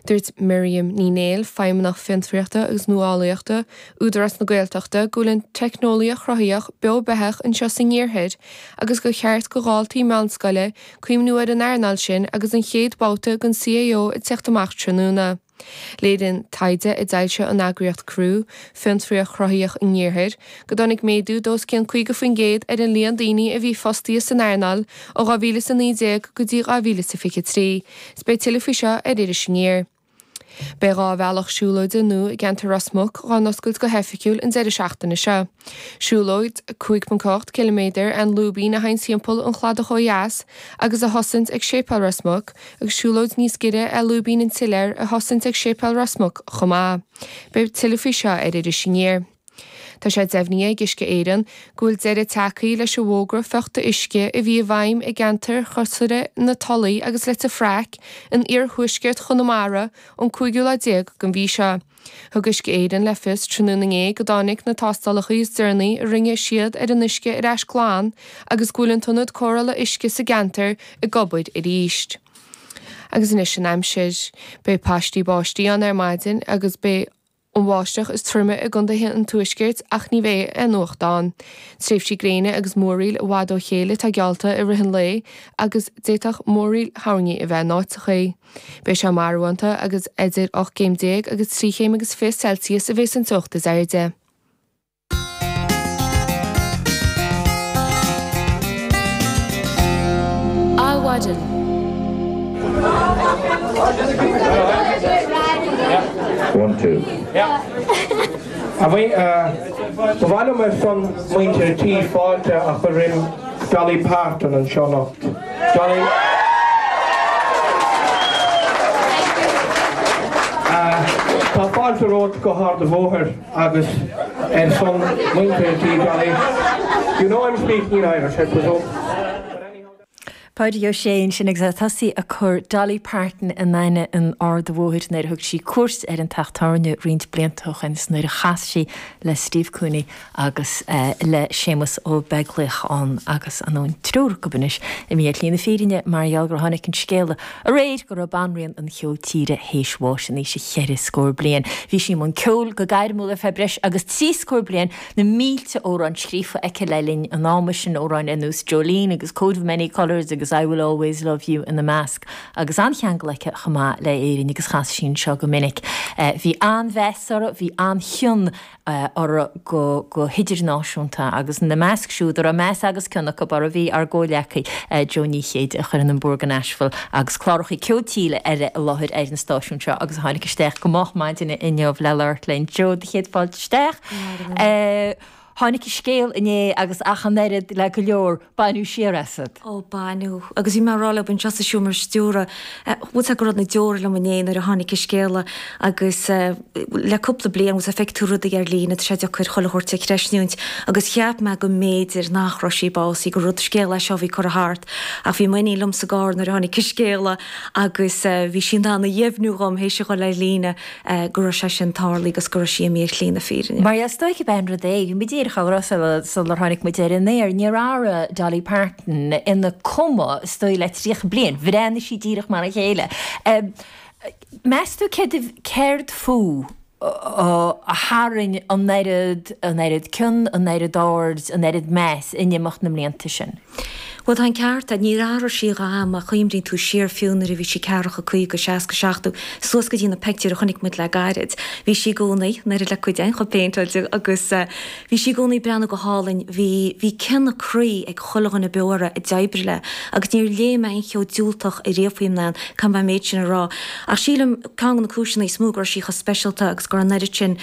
Dúirt Miriam Ní Néill, Feidhmeannach Fiontraíochta agus Nuálaíochta, Údarás na Gaeltachta, go bhfuil an teicneolaíocht chruthaitheach beo beathach anseo san iarthar agus gur cheart do dhaltaí meánscoile cuimhniú ar an earnáil sin agus an chéad bhabhta den CAO ag teacht amach tráthnóna. Léiríonn taighde a d'fhoilsigh an eagraíocht Crew, Fiontraíocht Chruthaitheach an Iarthair, go dtáinig méadú d'os cionn 50% ar an líon daoine a bhí fostaithe san earnáil ó 2019 go dtí 2023. 'S beidh tuilleadh faoi seo ar Iris Aniar. Beidh 2 bhealach siúlóide nua i gceantar Ros Muc dhá n-oscailt go hoifigiúil an deireadh seachtaine seo. Siúlóid 5.8 ciliméadar an lúibín a théann timpeall an chladach ó dheas agus a thosaíonns ag Séipéal Ros Muc agus siúlóid níos giorra ar Lúibín an tSiléir a thosaíonns ag Séipéal Ros Muc chomh maith. Beidh tuilleadh faoi seo ar Iris Aniar. Tá sé deimhnithe ag Uisce Éireann go bhfuil deireadh tagtha leis an bhfógra fiuchta uisce a bhí i bhfeidhm i gceantair chosmhara na Tulaí agus Leitir Fraic in iarthuaisceart Chonamara ón cúigiú lá déag den mhí seo. Thug Uisce Éireann le fios tráthnóna inné go dtáinig na tástálacha is deireanaí a rinne siad ar an uisce ar ais glan agus go bhfuil an t-ionad cóireála uisce sa gceantar ag obair arís. Agus anois an aimsir. Beidh paistí báistí ann ar maidin agus beidh an bháisteach is troime i gcontaetha an tuaiscirt ach ní bheidh aon fhuacht ann. Tréimhsí gréine agus múraíl i bhfad ó chéile atá geallta i rith an lae agus d'fhéadfadh múraíl thoirní a bheith in áiteachaí. Beidh sé marbhánta agus idir 18 céim agus 3 chéim agus 20 Celsius a bheas an teocht is airde. Adhmhaidin. One, two. Ba mhaith liom ar son muintir an tí fáilte a chur roimh Dolly Parton anseo anocht. Dolly. Tá fáilte romhat go hArd an Bhóthair agus ar son muintir an tí, Dolly. You know I'm speaking in Irish, I presume. But anyhow. Pádraig Ó Sé ansin agus é ag tosaí ag cur Dolly Parton in aithne in Ard an Bhóthair nuair a thug sí cuairt ar an teach tábhairne roinnt blianta ó shin is nuair a chas sí le Steve Cooney agus le Séamus Ó Beaglaoich ann agus an triúr acu anois imithe ar shlí na fírinne mar gheall gur tháinig an scéala aréir go raibh banríon an cheoil tíre théis bháis in aois a cheithre scór bliain. Bhí sí i mbun ceoil go gairmiúil ar feadh breis agus trí scór bliain Na mílte amhrán scríofa aici le linn an ama sin, amhráin ar nós Jolene agus Coat of Many Colours agus I Will Always Love You ina measc, agus an-cheangal aici chomh maith le Éirinn agus chas sí anseo go minic. Bhí an-mheas uirthi, bhí an-chion uirthi go hidirnáisiúnta agus ina measc siúd a raibh meas agus cion acu uirthi bhí ár gcomhghleacaí Joe Ní Chéide a chuireann an Búrca Nashville agus cláracha ceoil tíre eile i láthair ar an stáisiún seo agus a tháinig isteach go moch maidine inniu le labhairt linn. Joe, do chéad fáilte isteach. Tháinig an scéal inné agus ach an oiread le go leor, baineadh siar asat. Ó, baineadh. Agus bhí mé ag rá leo anseo sa seomra stiúrtha, bhfuil 's agat go raibh na deora liom inné nuair a tháinig an scéala agus le cúpla bliain, bhfuil 's agat, feicfidh tú rudaí ar líne, tá sé deacair chuile shórt a chreisniúint agus cheap mé go mb'fhéidir nach raibh sí básaithe, gur rud, scéal é seo a bhí curtha thart ach bhí m'iníon liom sa gcarr nuair a tháinig an scéala agus bhí sí in ann a dheimhniú dhom théis a dhul ar líne go raibh sé sin tarlaithe agus go raibh sí imithe ar shlí na fírinne. Mar is dóiche ab é an rud é, bhí muid díreach á rá sular tháinig muid ar an aer, níor athraigh Dolly Parton ina cuma is dóigh le 30 bliain, bhreathnaigh sí díreach mar a chéile. Meas tú céard fúithi a tharraing an oiread, an oiread cion, an oiread aird, an oiread meas in imeacht na mblianta sin? Bhuel, tá an ceart agat, níor athraigh sí a dhath má chuimhníonn tú siar fiú nuair a bhí sí ceathracha, 50, 60, 70, suas go dtí na peictiúir a chonaic muid le gairid. Bhí sí i gcónaí, an oiread le cuid againn, chomh péinteáilte agus bhí sí i gcónaí ag breathnú go hálainn. Bhí, bhí cion croí ag chuile dhuine beo uirthi a d'oibrigh léi agus níor léigh mé aon cheo diúltach ariamh faoi mná, caithfidh mé an méid sin a rá. Ach sílim, ceann de na cúiseanna is mó go raibh sí chomh speisialta agus go raibh an oiread sin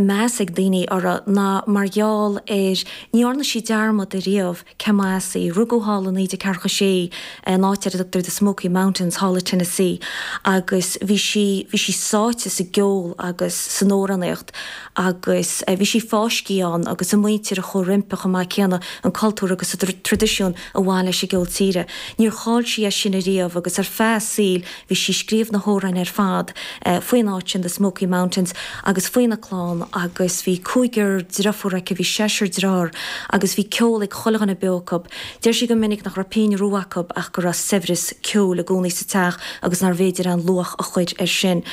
meas ag daoine uirthi ná mar gheall ar, ní dhearna sí dearmad ariamh, Cé as í? Rugadh thall i 1946 in áit ar a dtugtar The Smoky Mountains thall i Tennessee agus bhí sí, bhí sí sáite sa gceol agus san amhránaíocht agus bhí sí fáiscthe ann agus a muintir a chuaigh roimpi chomh maith céanna, an cultúr agus an traidisiún a bhain leis an gceol tíre. Níor chaill sí é sin ariamh agus ar feadh a saoil Bhí sí ag scríobh na hamhráin ar fad faoin áit sin, The Smoky Mountains, agus faoina clann agus bhí cúigear driofúr aici, bhí seisear dearthár agus bhí ceol ag chuile dhuine beo acu. Deir sí go minic nach raibh pingin rua acu ach go raibh saibhreas ceoil i gcónaí sa teach agus nárbh fhéidir aon luach a chur air sin.